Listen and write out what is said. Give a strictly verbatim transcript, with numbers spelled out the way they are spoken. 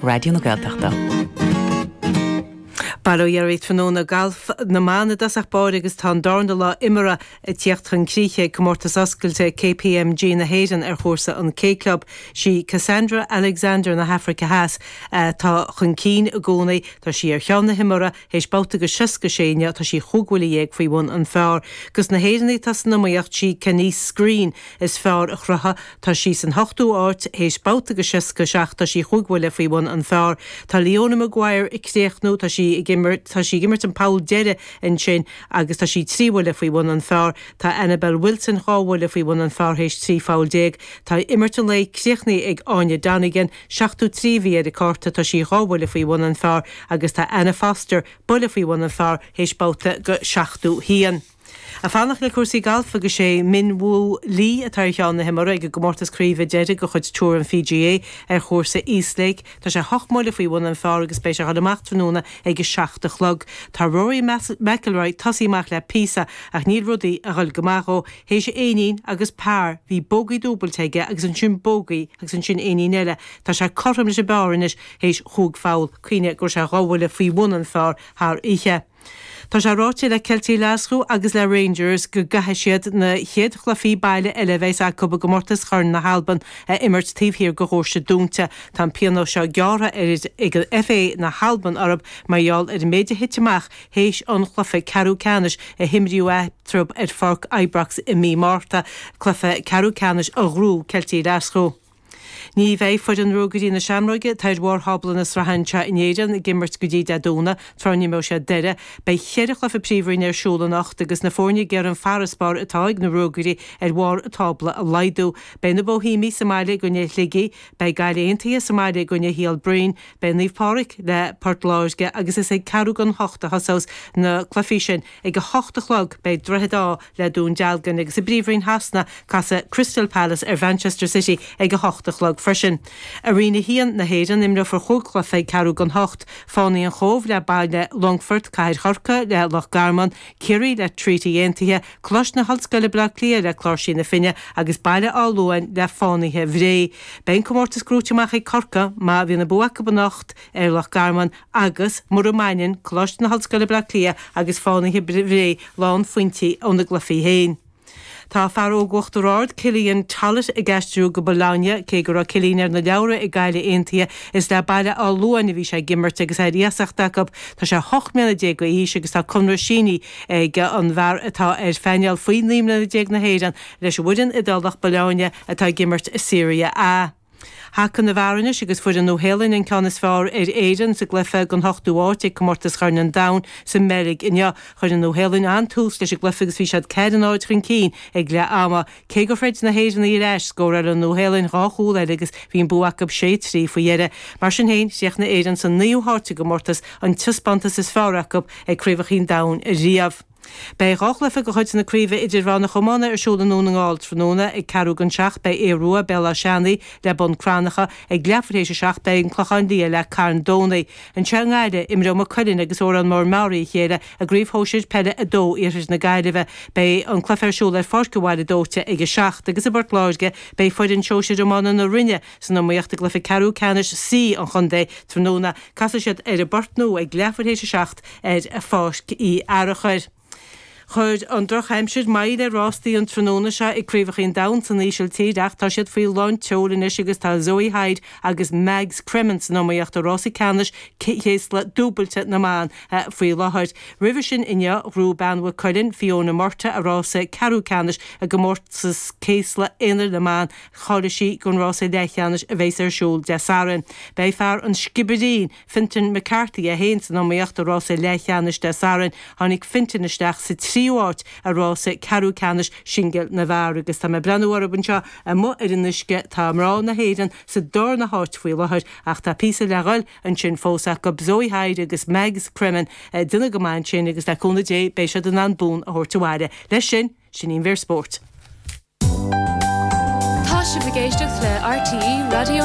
Raidió na Gaeltachta. Bail ó Dhia oraibh tráthnóna galf na mban i dtosach báire agus tá an darna lá imeartha ag tíocht chun críche ag comórtas oscailte KPMG na hÉireann ar chúrsa an K Club. Sí Cassandra Alexander na hAfraice Theas atá chun cinn i gcónaí, tá sí ar cheann na himeartha théis babhta de seasca sé inniu, tá sí chúig bhuille dhéag faoi bhun an phar. Dos na hÉireannaigh atá san iomaíocht sí Kenise Green is fearr a chruthaigh, tá sí san hochtú háit théis babhta de seasca seacht, tá sí chúig bhuille faoi bhun an phar. Tá Leona Maguire ag críochnú, tá sí ag imirt tá sí ag imirt an poll deiridh ansin agus tá sí trí bhuille faoi bhun an phar. Tá Annabel Wilson dhá bhuille faoi bhun an phar théis trí pholl déag. Tá imirt an lae críochnaithe ag Áine Donegan, seachtó trí a bhí ar a cárta, tá sí dhá bhuille faoi bhun an phar agus tá Anna Foster buille faoi bhun an phar théis babhta de seachtó haon. Ag fanacht le cúrsaí gailf agus sé Min Woo Lee atá ar cheann na himeartha ag an gcomórtas craoibhe deiridh de chuid Tour an PGA ar chúrsa Eastlake. Tá sé hocht mbuille faoi bhun an phar agus beidh sé ag dul amach tráthnóna ag a seacht a chlog. Tá Rory McIlroy tosaithe amach le píosa ach níl rudaí ag dul go maith dhó. Théis éinín agus par bhí bogey dúbailte aige agus ansin bogey agus ansin éinín eile. Tá sé cothrom leis an bpar anois théis chúig pholl. Cuimhnigh go raibh sé dhá bhuille faoi bhun an phar thar oíche. Tá sé ráite le Ceiltigh Ghlaschú agus le Rangers go gcaithfidh siad na chéad chluichí baile eile a bheas acu i gcomórtas Chorn na hAlban a imirt taobh thiar de dhoirse dúnta. Tá an pionós seo gearrtha ar ag FA na hAlban orthu mar gheall ar an méid a thit amach théis an chluiche ceathrú ceannais a himríodh eatarthu ar Pháirc Ibrox i mí Márta, cluiche ceathrú ceannais a ghnóthaigh Ceiltigh Ghlaschú. Ní bheidh foireann Ruagairí na Seamróige atá ar bharr thábla na sraithe anseo in Éirinn ag imirt go dtí Dé Domhnaigh, tráth a n-imreoidh siad Doire. Beidh ceithre chluiche príomhroinne ar siúl anocht agus na foirne ag iarraidh an farasbarr atá ag na Ruagairí ar bharr an tábla a laghdú. Beidh na Boihéamaigh sa mbaile i gcoinne Shligigh, beidh Gaillimh Aontaithe sa mbaile i gcoinne Shíol Broin, beidh Naomh Pádraig le Port Láirge agus is ag ceathrú don hocht a thosós na cluichí sin. Ag a hocht a chlog beidh Droichead Átha le Dún Dealgan agus i bPríomhroinn Shasana casfaidh Crystal Palace ar Manchester City ag a hocht a chlog freisin. I Roinn a haon na hÉireann imreofar chúig chluiche ag ceathrú don hocht, Fánaí an Chóibh le Baile Longfoirt, Cathair Chorcaí le Loch Garman, Ciarraí le Treaty Aontaithe, Coláiste na hOllscoile Baile Átha Cliath le Cláirsí na Finne agus Baile Átha Luain le Fánaithe Bhré. Beidh an comórtas gnóite amach ag Corcaigh má bhíonn an bua acu anocht ar Loch Garman agus mura mbaineann Coláiste na hOllscoile Baile Átha Cliath agus Fánaithe Bhré lánphointí óna gcluichí féin. Tá fear óg Uachtar Ard, Cillian Tollett ag aistriú go Bologna, cé go raibh Cillian ar na leabhra ag Gaillimh Aontaithe, is le Baile Átha Luain a bhí sé ag imirt agus é ar iasacht acu. Tá sé hocht mbliana déag d'aois agus tá conradh sínithe ag an bhfear atá ar phainéal faoi naoi mbliana déag na hÉireann leis an bhfoireann Iodálach Bologna atá ag imirt i Serie A. Haca na bhfear anois agus fuair an Nua-Shéalainn an ceann is fearr ar Éirinn sa gcluiche don hochtú háit ag Comórtas Chorn an Domhain sa mBeilg inniu. Chuir an Nua-Shéalainn an-tús leis an gcluiche agus bhí siad ceathair a náid chun cinn ag leath ama. Cé gur throid na hÉireannaigh ar ais, scóráil an Nua-Shéalainn dhá chúl eile agus bhí an bua acu sé trí faoi dheireadh. Mar sin féin, chríochnaigh Éirinn sa naoú háit i gcomórtas, an taispeántas is fearr acu ag Craobhacha an Domhain riamh. Beidh dhá chluiche de chuid na Craoibhe Idirmheánach Iomána ar siúl i nDún na nGall tráthnóna. Ag ceathrú don seacht beidh Aodh Rua, Béal Átha Seanaidh le Bun Cranncha. Ag leathuair théis a seacht beidh An Clochán Liath le Carn Domhnaigh. Anseo i nGaillimh, imreoidh Maigh Cuilinn agus Órán Mór Meáraí a chéile i gCraobh Shóisir Peile a dó Iarthar na Gaillimhe. Beidh an cluiche ar siúl ar Pháirc an Bhaile Dóite ag a seacht agus i bPort Láirge beidh foireann Shóisir Iomána na Rinne san iomaíocht i gcluiche ceathrú ceannais C an chontae tráthnóna. Casfaidh siad ar an bPort Nua ag leathuair théis a seacht ar Pháirc Uí Fhearachair. Chuir an drochaimsir moill ar rástaí an tráthnóna seo ag Craobhacha an Domhain san Ísiltír ach tá siad faoi lán tseoil anois agus tá Zoe Hyde agus Mags Cremen san iomaíocht i rása ceannais céasla dúbailte na mban faoi láthair. Roimhe sin inniu, ghnóthaigh bean Mhaigh Cuilinn, Fiona Murtagh, a rása ceathrú ceannais i gcomórtas céasla aonair na mban. Cháiligh sí don rása leathcheannais a bheas ar siúl Dé Sathairn. Beidh fear an Sciobairín, Fintan McCarthy é féin san iomaíocht i rása leathcheannais Dé Sathairn. Tháinig Fintan isteach sa tríú háit i rása ceathrú ceannais singil na bhfear agus tá mé ag breathnú orthu anseo amuigh ar an uisce. Tá mná na hÉireann sa darna háit faoi láthair ach tá píosa le dhul ansin fós acu. Zoe Hyde agus Mags Cremen ag déanamh go maith ansin agus le cúnamh Dé beidh siad in ann bonn a thabhairt abhaile. Leis sin, sin í an mhír spóirt. Tá sibh ag éisteacht le RTÉ Raidió